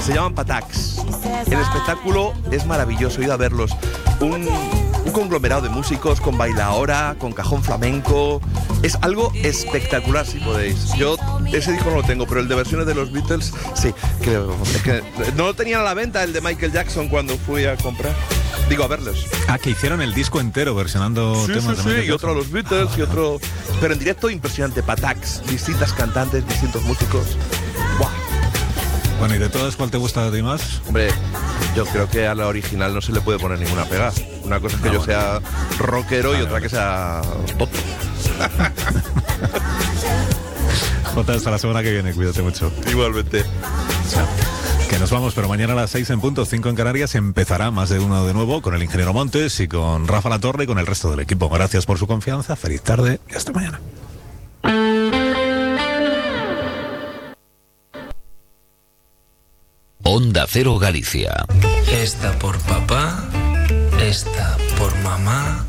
Se llaman Patacs. El espectáculo es maravilloso, he ido a verlos. Un conglomerado de músicos con bailaora, con cajón flamenco. Es algo espectacular, si podéis. Yo ese disco no lo tengo, pero el de versiones de los Beatles, sí. Es que no lo tenían a la venta, el de Michael Jackson, cuando fui a comprar. Digo, a verlos. Que hicieron el disco entero versionando temas de Michael y otro a los Beatles y otro... Pero en directo impresionante, Patacs, distintas cantantes, distintos músicos. ¡Buah! Bueno, ¿y de todas cuál te gusta de ti más? Hombre, yo creo que a la original no se le puede poner ninguna pega. Una cosa es que yo sea rockero y otra que sea pop. Jota, hasta la semana que viene, cuídate mucho. Igualmente. Chao. Que nos vamos, pero mañana a las 6 en punto, 5 en Canarias, empezará Más de Uno de nuevo con el ingeniero Montes y con Rafa Latorre y con el resto del equipo. Gracias por su confianza, feliz tarde y hasta mañana. Onda Cero Galicia. Esta por papá, esta por mamá,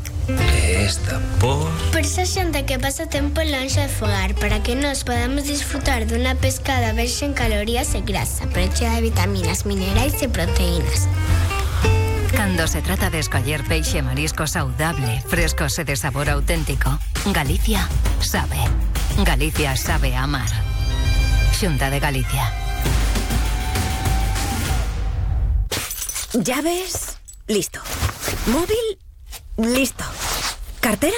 esta por... Por esa xente que pasa tempo lonxe de fogar, para que nos podamos disfrutar dunha pescada verxe en calorías e grasa, pero chea de vitaminas, minerais e proteínas. Cando se trata de escoller peixe e marisco saudable, frescos e de sabor auténtico, Galicia sabe. Galicia sabe amar. Xunta de Galicia. ¿Llaves? Listo. ¿Móvil? Listo. ¿Cartera?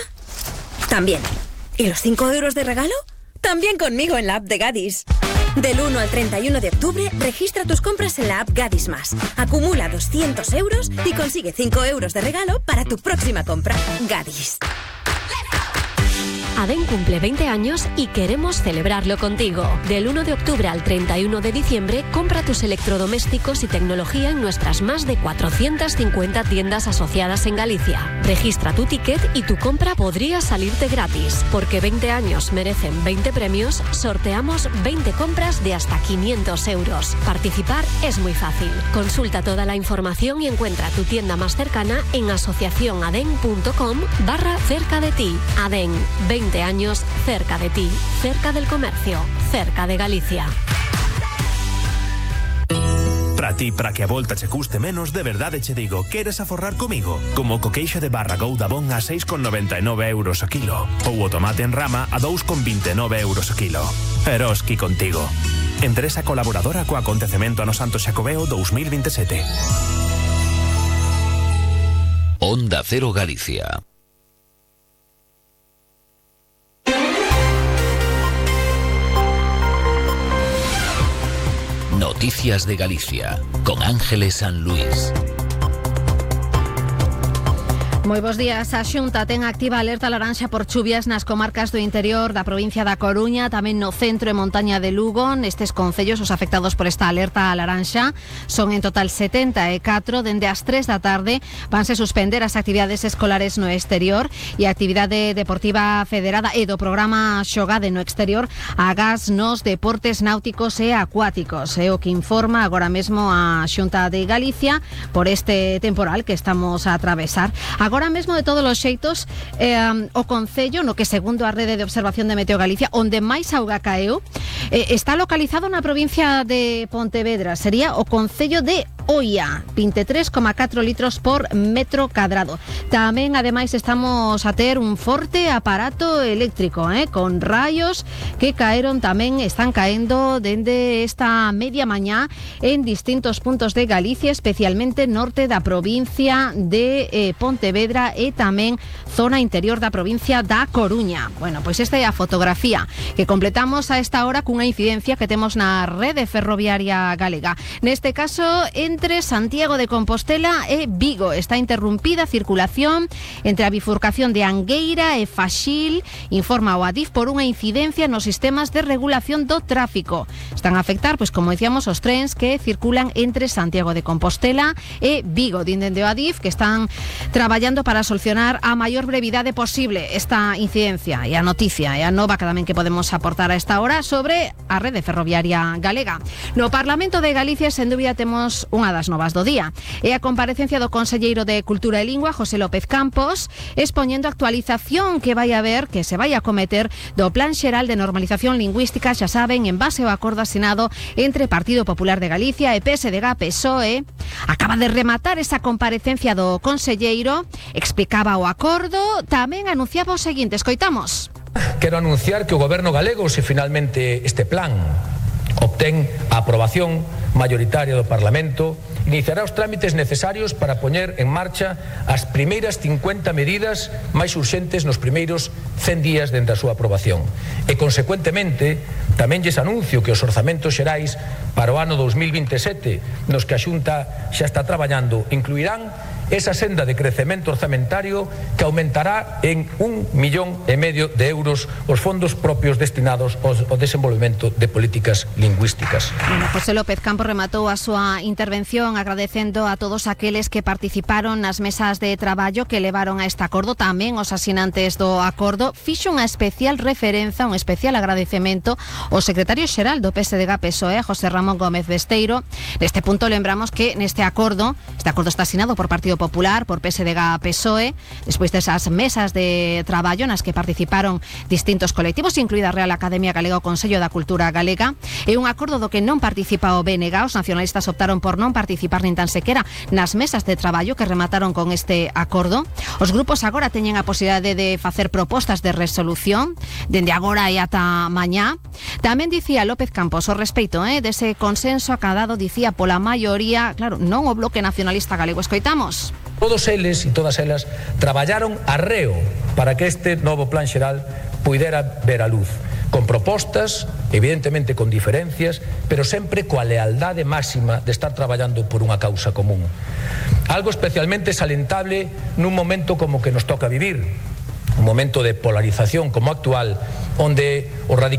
También. ¿Y los 5 euros de regalo? También conmigo en la app de Gadis. Del 1 al 31 de octubre, registra tus compras en la app Gadis Más. Acumula 200 euros y consigue 5 euros de regalo para tu próxima compra. Gadis. ADEN cumple 20 años y queremos celebrarlo contigo. Del 1 de octubre al 31 de diciembre, compra tus electrodomésticos y tecnología en nuestras más de 450 tiendas asociadas en Galicia. Registra tu ticket y tu compra podría salirte gratis. Porque 20 años merecen 20 premios, sorteamos 20 compras de hasta 500 euros. Participar es muy fácil. Consulta toda la información y encuentra tu tienda más cercana en asociacionaden.com/cerca de ti. ADEN, 20 años cerca de ti, cerca del comercio, cerca de Galicia. Para ti, para que a volta che custe menos, de verdade che digo, queres aforrar comigo? Como o coqueixo de barra Goudabón a 6,99 euros o kilo, ou o tomate en rama a 2,29 euros o kilo. Eroski contigo. Empresa colaboradora co acontecemento ano Santo Xacobeo 2027. Onda Cero Galicia. Noticias de Galicia, con Ángeles San Luis. Moi bos días. A Xunta ten activa alerta laranxa por chuvias nas comarcas do interior da provincia da Coruña, tamén no centro e montaña de Lugo. Nestes concellos, os afectados por esta alerta laranxa son en total 74. Dende as 3 da tarde vanse suspender as actividades escolares no exterior e a actividade deportiva federada e do programa Xogade no exterior agás nos deportes náuticos e acuáticos. É o que informa agora mesmo a Xunta de Galicia por este temporal que estamos a atravesar. Agora mesmo, de todos os xeitos, o concello, no que segundo a rede de observación de Meteo Galicia, onde máis auga caeu, está localizado na provincia de Pontevedra. Sería o concello de Oia, 23,4 litros por metro cadrado. Tamén, ademais, estamos a ter un forte aparato eléctrico, con raios que caeron tamén, están caendo dende esta media mañá en distintos puntos de Galicia, especialmente norte da provincia de Pontevedra e tamén zona interior da provincia da Coruña. Bueno, pois esta é a fotografía que completamos a esta hora cunha incidencia que temos na rede ferroviaria galega. Neste caso, entre Santiago de Compostela e Vigo. Está interrumpida a circulación entre a bifurcación de Angueira e Faxil, informa o Adif, por unha incidencia nos sistemas de regulación do tráfico. Están a afectar, pois como decíamos, os trens que circulan entre Santiago de Compostela e Vigo. Dinden de o Adif que están traballando para solucionar a maior brevidade posible esta incidencia e a noticia e a nova que tamén que podemos aportar a esta hora sobre a rede ferroviaria galega. No Parlamento de Galicia, sen dúbida, temos unha unha das novas do día. E a comparecencia do conselleiro de Cultura e Lingua, José López Campos, expoñendo a actualización que vai haber, que se vai acometer do Plan Xeral de Normalización Lingüística, xa saben, en base ao acordo asinado entre Partido Popular de Galicia e PSDG-PSOE. Acaba de rematar esa comparecencia do conselleiro, explicaba o acordo, tamén anunciaba o seguinte, escoitamos. Quero anunciar que o Goberno galego, se finalmente este plan obtén a aprobación mayoritaria do Parlamento, iniciará os trámites necesarios para poñer en marcha as primeiras 50 medidas máis urxentes nos primeiros 100 días dende a súa aprobación. E, consecuentemente, tamén lles anuncio que os orzamentos xerais para o ano 2027, nos que a Xunta xa está traballando, incluirán esa senda de crecemento orzamentario que aumentará en 1,5 millón de euros os fondos propios destinados ao desenvolvemento de políticas lingüísticas. Bueno, José López Campos rematou a súa intervención agradecendo a todos aqueles que participaron nas mesas de traballo que levaron a este acordo, tamén os asinantes do acordo. Fixo unha especial referenza, un especial agradecemento ao secretario xeral do PSDG-PSOE, José Ramón Gómez Besteiro. Neste punto lembramos que neste acordo, está asinado por Partido Popular, por PSDG-PSOE, despois desas mesas de traballo nas que participaron distintos colectivos, incluída a Real Academia Galega, o Consello da Cultura Galega, e un acordo do que non participa o BNG. Os nacionalistas optaron por non participar nin tan sequera nas mesas de traballo que remataron con este acordo. Os grupos agora teñen a posibilidade de facer propostas de resolución dende agora e ata mañá. Tamén dicía López Campos o respeito dese consenso acadado, dicía, pola maioría, claro, non o Bloque Nacionalista Galego. Escoitamos. Todos eles e todas elas traballaron arreo para que este novo plan xeral puidera ver a luz, con propostas, evidentemente con diferencias, pero sempre coa lealdade máxima de estar traballando por unha causa común. Algo especialmente salentable nun momento como que nos toca vivir, un momento de polarización como actual, onde o radicalismo